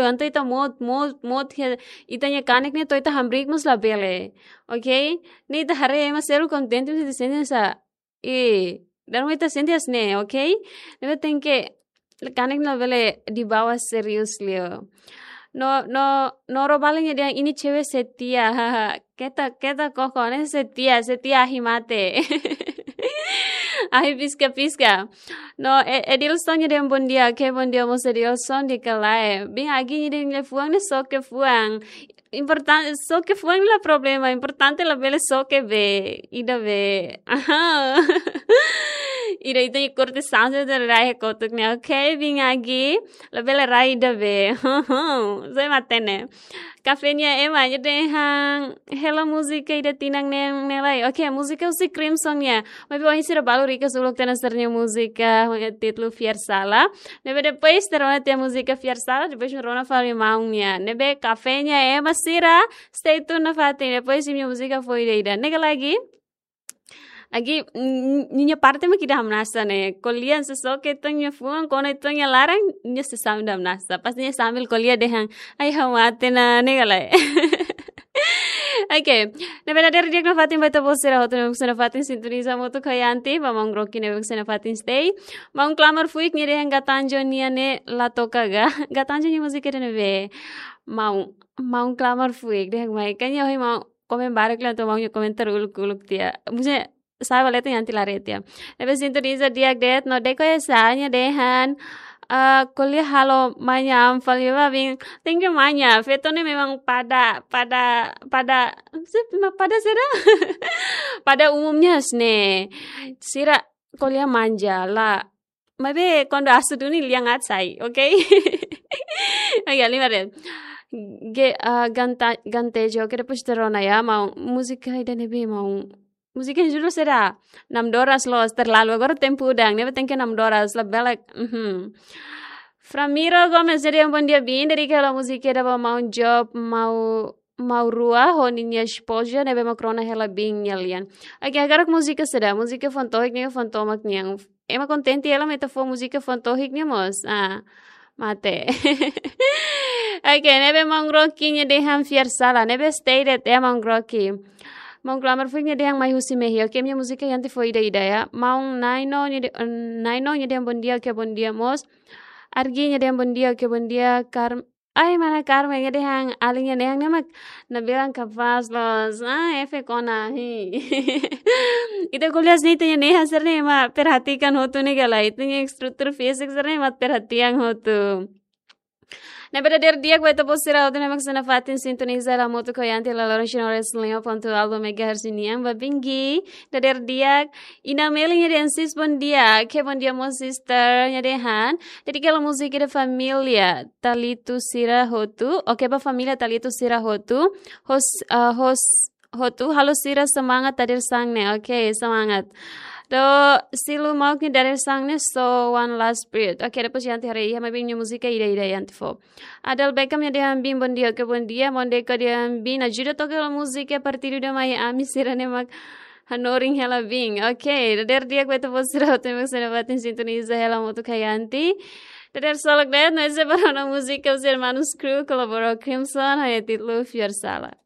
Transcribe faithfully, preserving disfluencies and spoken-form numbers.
Entaun ita mout, mout, mout ke ita-nia kanek ne'e to'o ita hamriik mós labele. Ok? Ne'e ita haree ema seluk kontente mós ita sente hanesan, eh, dala ruma ita sente hanesan ne'e, ok? Ne'ebé tenke kanek labele dibawa serius liu. No, no, no Robalin nia dehan ini cewek setia. Keta, keta koko, ne'e setia, setia ahi mate. Ahi piska-piska. No, E-, Edilson nia dehan bom dia, oke, bom dia mós Edilson, di'ak ka lae. Biin Agi nia dehan liafuan ne'e soke fuan. Importante, soke fuan la problema, importante labele soke bee, ida bee. Aha. Ida ita-nia korte sanse de rai kotuk ne'e, oke, Biin Agi, labele rai ida bee. Sai matenek. Kafé nia ema nia dehan hela múzika ida tinan ne'e, ne'e lai. Oke, múzika husi Crimson nian. Maibé ohin sira balu rikas uluk tiha ona sira-nia múzika ho títulu Fiar Sala. Ne'ebé depois sira rona tiha múzika Fiar Sala, depois rona fali maun nian. Ne'ebé kafé nia ema sira, stay tune nafatin. Depois imi-nia múzika fó ida-ida. Ne'e ka lae? Agi, n-, n-, nia parte mak ida hamnasa ne'e. Ko'alia hanesan soke ita-nia fuan, kona ita-nia laran, nia sei sambil hamnasa. Pasti nia sambil ko'alia dehan, ai ha'u mate ona, ne'e ka lae? Oke, ne'ebé dadeer di'ak nafatin ba ita-boot sira hotu ne'ebé sei nafatin sintoniza hamutuk ho Yanti, ba maun Rocky ne'ebé sei nafatin stay. Maun Klamar Fuik nia dehan Gatanjo nian ne'e la toka ga. Gatanjo nia múzika ida ne'ebé? Maun, maun Klamar Fuik dehan mai. Kayaknya ohin maun komen barak liu entaun maun nia komentar uluk-uluk tiha. Maksudnya, sa'e ba leten Yanti la haree tiha. Ne'ebé sintoniza di'ak de'it, no Deko Esa nia dehan, ah, ko'alia halo manya am fali ba Biin. Thank you manya. Feto ne'e memang pada, pada, pada, sip, ma-, pada sira. Pada umumnya hanesan ne'e. Sira ko'alia manja la. Maibé kuandu asu duni lian aat sai, oke? Oke, lima de'it. Ge, ah, ganta, Gatanjo, oke, depois ita rona ya, maun múzika ida ne'ebé maun. Múzika judul saida? Namdoras loos, terlalu. Agora tempu udan, ne'ebé tenke namdoras, labele, mhm. Framiro Gomes nia dehan bom dia Biin, dedika hela múzika ida ba maun Job, maun, maun rua, ho ninia espoza, ne'ebé mak rona hela Biin nia lian. Oke, agora múzika saida? Múzika fuan tohik nian, fuan tomak nian. Ema kontente hela mak ita fó múzika fuan tohik nian mós. Ah, mate. Oke, ne'ebé maun Rocky nia dehan Fiar Sala, ne'ebé stay de'it ya maun Rocky. Maun Klamar Fuik nia dehan mai husi mehi. Oke, imi-nia múzika Yanti fó ida-ida ya. Maun Naino nia de-, Naino nia dehan bom dia, oke, bom dia mós. Argi nia dehan bom dia, oke, bom dia. Kar-, ai, mana Carmen nia dehan alin nia dehan ne'e mak Nabila kapás loos. Ah, F kona, hi. Ita ko'alia hanesan ne'e ita-nia nehan sira-ne'e ema perhatikan hotu ne'e ka lae. Ita-nia estrutura fízika sira-ne'e ema perhatian hotu. Ne'ebé dadeer di'ak ba ita-boot sira hotu ne'ebé mak sei nafatin sintoniza hela hamutuk ho Yanti iha loron sira ne'e lima ponto nol megahertz nian ba Biin Agi. Dadeer di'ak. Ina Meli nia dehan sis bom dia. Oke, bom dia mós sister nia dehan. Dedika hela múzika ida família Talito sira hotu. Oke, ba família Talito sira hotu. Hos, ah, hos, hotu, halo sira semangat dadeer-saan ne'e. Oke, semangat. Dozilu Mauk nia dadeer-saan ne'e, so one last breath. Oke, depois Yanti haree iha, maibé nia múzika ida-ida Yanti fó. Adel Beckham nia dehan Biin bom dia, oke, bom dia. Maun Deko dehan Biin ajuda toka hela múzika Partidu da Mai Ami sira-ne'e mak hanorin hela Biin. Oke, dadeer di'ak ba ita-boot sira hotu ne'ebé sei nafatin sintoniza hela hamutuk ho Yanti. Dadeer solok de'it, no ese para ona múzika husi Hermanus Crew, kolabora Crimson, ho títulu Fiar Sala.